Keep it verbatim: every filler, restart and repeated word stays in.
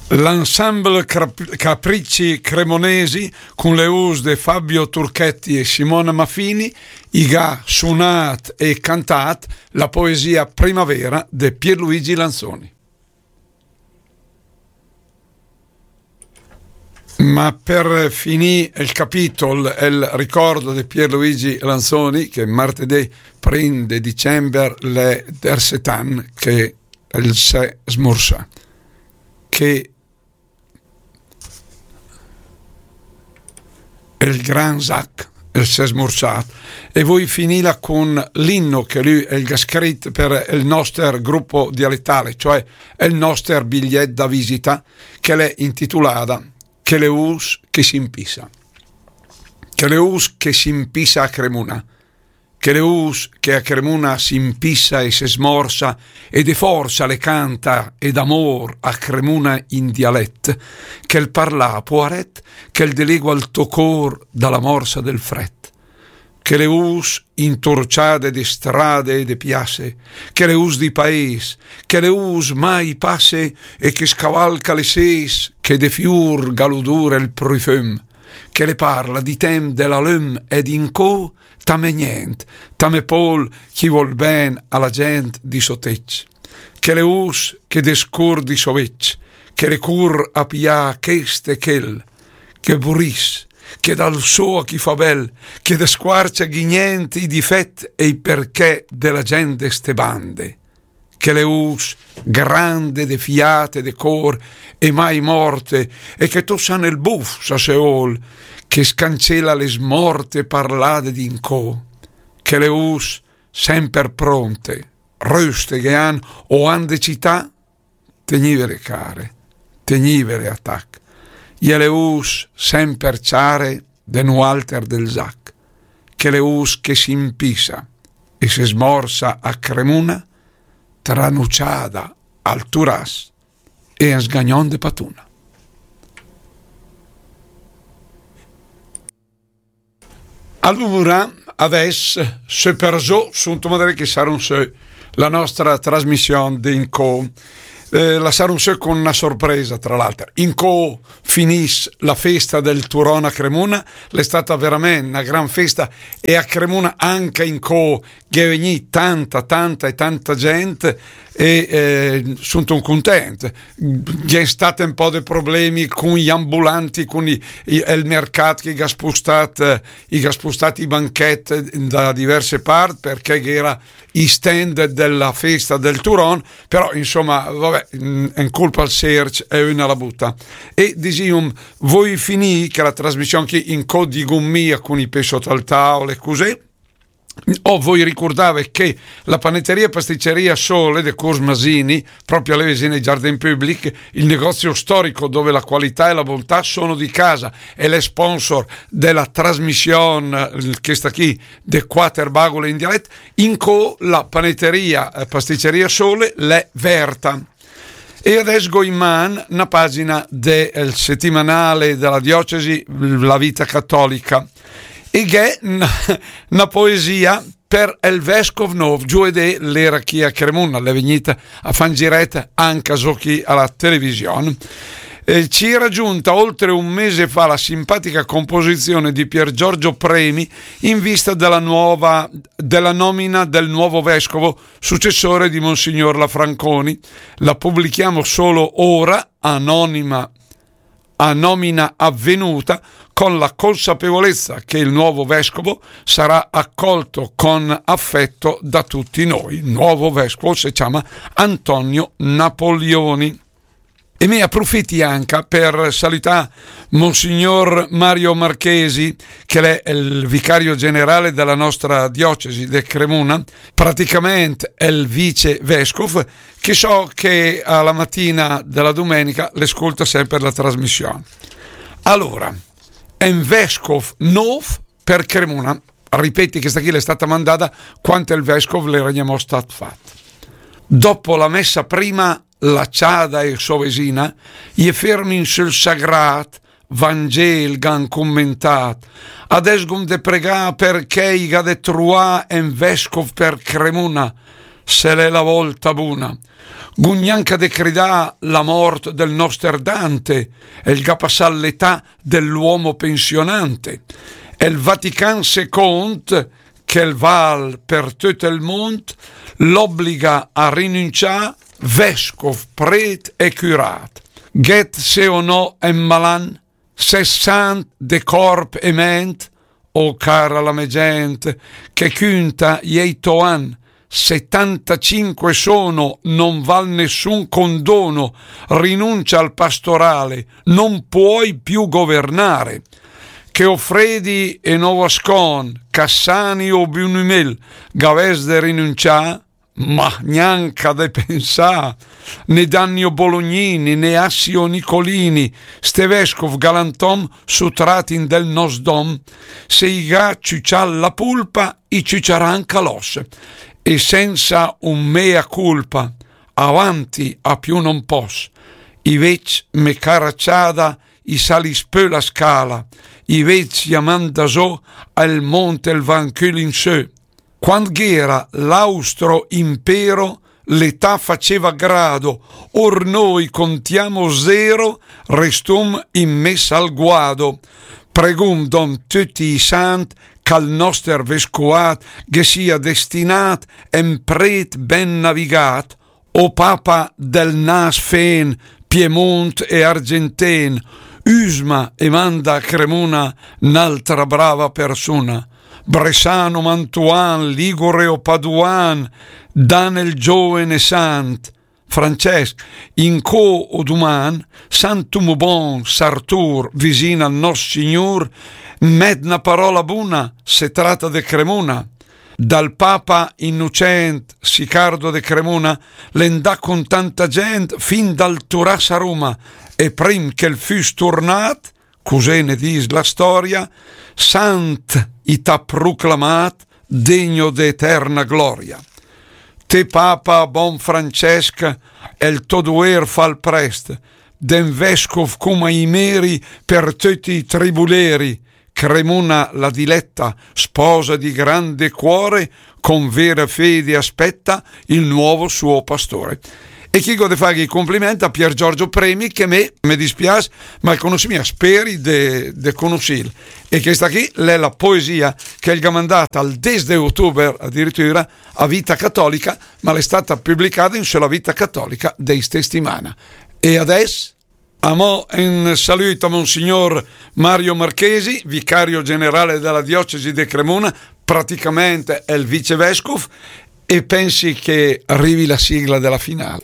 L'ensemble Crap-, Capricci Cremonesi, con le us de Fabio Turchetti e Simona Maffini, i ga sunat e cantat la poesia Primavera de Pierluigi Lanzoni. Ma per finì il capitolo, el ricordo de Pierluigi Lanzoni, che martedì prim de dicember l'è dersetan che el se smorsa, che el gran Zac, el se smorsat. E voi finila con l'inno che lui el ga scrit per el noster gruppo dialettale, cioè el noster bigliet da visita, che l'è intitolada Che le us che s'impisa. Che le us che s'impisa a Cremuna. Che le us che a Cremuna s'impisa e se smorsa e de forsa le canta e d'amor a Cremuna in dialet, che el parla a poaret, che el delegua el to cor da la morsa del fret. Che le us intorciade de strade e de piasse, che le us di paes, che le us mai passe e che scavalca le ses, che de fiur ga l'udor e el profum, che le parla di tem de la lum e d'incò, tame gnent, tame pol chi vol ben a la gent di so tec. Che le us che de scur di so vec, che le cur a pià chest e chel, che buris, che dal so a chi fa bel, che desquarcia ghi gnent i difet e i perché de la gent de ste bande. Che le us grande de fiat e de cor e mai morte, e che to sa nel buf sa se vol, che scancela le smorte parlade d'incò. Che le us semper pronte, röste che han o han de cità, tegnivele care, tegnivele a tac. I è le us semper ciare de nualter del Zac, che le us che s'impisa e se smorsa a Cremuna, tranuciada al Turas e en sgagnon de patuna. Alura, adès, sö per zó, sun to madre che sarum sö la nostra trasmission de incò. Eh, la sarum sö con una sorpresa, tra l'altra. Incò finis la festa del Turon a Cremuna, l'è stata veramente una gran festa, e a Cremuna anca incò gh'è vegnì tanta, tanta e tanta gent, e, eh, sun content. Gh'è stat un po' de problemi con i ambulanti, con i, i, el mercat che i ga spostat, eh, i ga spostat i banchet da diverse part, perché gh'era i stand della festa del Turon, però, insomma, vabbè, mm, è colpa al Serge, è una la buta. E disium, voi finì che la trasmission che incò digum mia con i pè sot al taul e cusì, o voi ricordave che la panetteria e pasticceria Sole de Curs Masini, proprio alle vicine di Jardin Public, il negozio storico dove la qualità e la bontà sono di casa, è le sponsor della trasmission, eh, questa qui, de Quater Bagole in dialet, incò la panetteria e pasticceria Sole l'è verta. E adès gh'ó in man na pagina del, eh, settimanale della diocesi, La Vita Cattolica, e gh'è na, na poesia per el vescov nov, giuedé l'era chi a Cremuna, l'è vegnit a fà un giret anca zó chi a la television. Eh, ci era giunta oltre un mese fa la simpatica composizione di Pier Giorgio Premi in vista della nuova, della nomina del nuovo vescovo successore di Monsignor Lafranconi. La pubblichiamo solo ora, anonima, a nomina avvenuta, con la consapevolezza che il nuovo vescovo sarà accolto con affetto da tutti noi. Il nuovo vescovo si chiama Antonio Napoleoni. E mi approfitti anca per salutà Monsignor Mario Marchesi, che l'è el vicario generale della nostra diocesi de Cremuna, praticamente el vice vescof, che so che a la matina della domenica l'ascolta sempre la trasmission. Allora, è un vescof nov per Cremuna. Ripeti, questa qui l'è stata mandata quando il vescof l'era gnamò stat fat. Dopo la messa prima, la ciada e so vesina, i è fermi in sul sagrat Vangel gh'han commentàt. Adès gh'om de pregà perché i gh'ha de truà en vescof per Cremuna, se l'è la volta buna. Gh'um gnanca de cridà la mort del noster Dante, el gh'à passà l'età dell'uomo pensionante. El Vatican second, che el val per töt el mond, l'obbliga a rinuncià vescof, pret e curat. Gh'et se o no en malan, se sant de corp e ment, o cara la me gent, che cunta i to an, setantacinque sono, non val nessun condono, rinuncia al pastorale, non puoi più governare. Che o fredi e no o ascon, Cassani o Bunimel, gh'avès de rinuncià, ma gnanca de pensà, né Danni o Bolognini, né Assi o Nicolini, ste vescof galantom sutrat in del nos dom, se i gh'à ciucià la pulpa, i ciuciarà anca l'os, e senza un mea culpa, avanti a più non pos. I vec me cara ciada, i salis pö la scala, i vec i a manda zo, al mont el va ancö in sö. Quand gh'era l'Austro Impero, l'età faceva grado, or noi contiamo zero, restum in mes al guado. Pregum dom tuti i sant, ch'al noster vescoat ghe sia destinat en pret ben navigat, o papa del nas fen, Piemont e Argenten, usma e manda a Cremuna n'altra brava persuna. Bresano, Mantuan, Ligure o Paduan, dan el giovene sant Francesc, incö o duman, Santum Bon, Sartur, visin al nos Signur, met na parola buna, se trata de Cremuna. Dal papa Innocent Sicardo de Cremuna l'è ndà con tanta gent fin dal Turas a Roma, e prim che el füs turnat, cusì ne dis la storia, sant i t'à proclamat degno de eterna gloria. Te papa bon Francesc, el to duer fal prest, den vescof coma i meri per tuti i tribuleri, Cremuna la diletta, sposa di grande cuore, con vera fede aspetta il nuovo suo pastore. E chi gh'ó de fagh i compliment a Pier Giorgio Premi, che me, me dispias, ma el conossi mia, speri de, de conossil. E questa qui l'è la poesia che el gh'à mandat al des de ottober addirittura a Vita Cattolica, ma l'è stata pubblicada in sö la Vita Cattolica de sta stimana. E adess Amò, un salut a Monsignor Mario Marchesi, vicario generale della diocesi de Cremona, praticamente è il vicevescof, e pensi che arrivi la sigla della finale.